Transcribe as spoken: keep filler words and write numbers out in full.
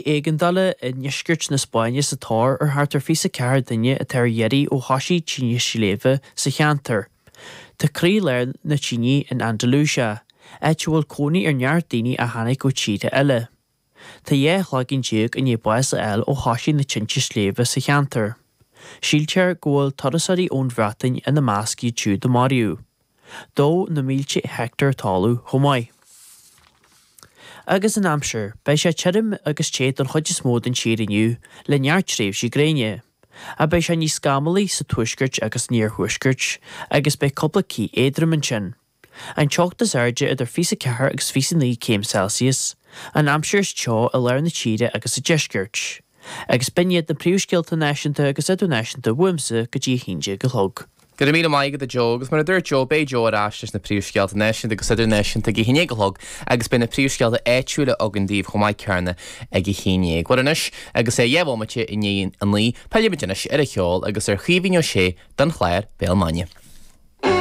Éigeandála i ndeisceart na Spáinne sa tóir ar thart ar fiche ceathair duine atá ar iarraidh ó thosaigh tine sléibhe sa cheantar. Tá croílár na tine in Andalusia, áit a bhfuil cónaí ar neart daoine a tháinig ó tíortha eile. Tá dhá chloigeann déag i ndiaidh bás a fháil ó thosaigh na tinte sléibhe sa cheantar. Síltear go bhfuil turasóirí ón Bhreatain ina measc iad siúd a maraíodh. Dódh na mílte heicteár talaimh chomh maith. Agus an aimsir, beidh sé tirim agus te don chuid is mó den tír inniu, le neart tréimhsí gréine. Ach beidh sé níos scamallaí sa tuaisceart agus san iarthuaisceart, agus beidh cúpla cith éadrom ansin. An teocht is airde idir fiche ceathair agus fiche naoi céim Celsius, an aimsir is teo i lár na tíre agus sa deisceart. Agus b'in iad na príomhscéalta náisiúnta agus idirnáisiúnta uaimse go dtí a haon déag a chlog. Go raibh míle maith agat a Joe, agus mar a dúirt Joe, beidh Joe ar ais leis na príomhscéalta náisiúnta agus idirnáisiúnta ag a haon déag a chlog agus beidh na príomhscéalta áitiúla againn daoibh chomh maith céanna ag a haon déag. Bhuel anois, agus é dhá bhomaite i ndiaidh a naoi, pillfimid anois ar an cheol agus ar Chaoimhín Ó Sé don chlár Béal Maidine.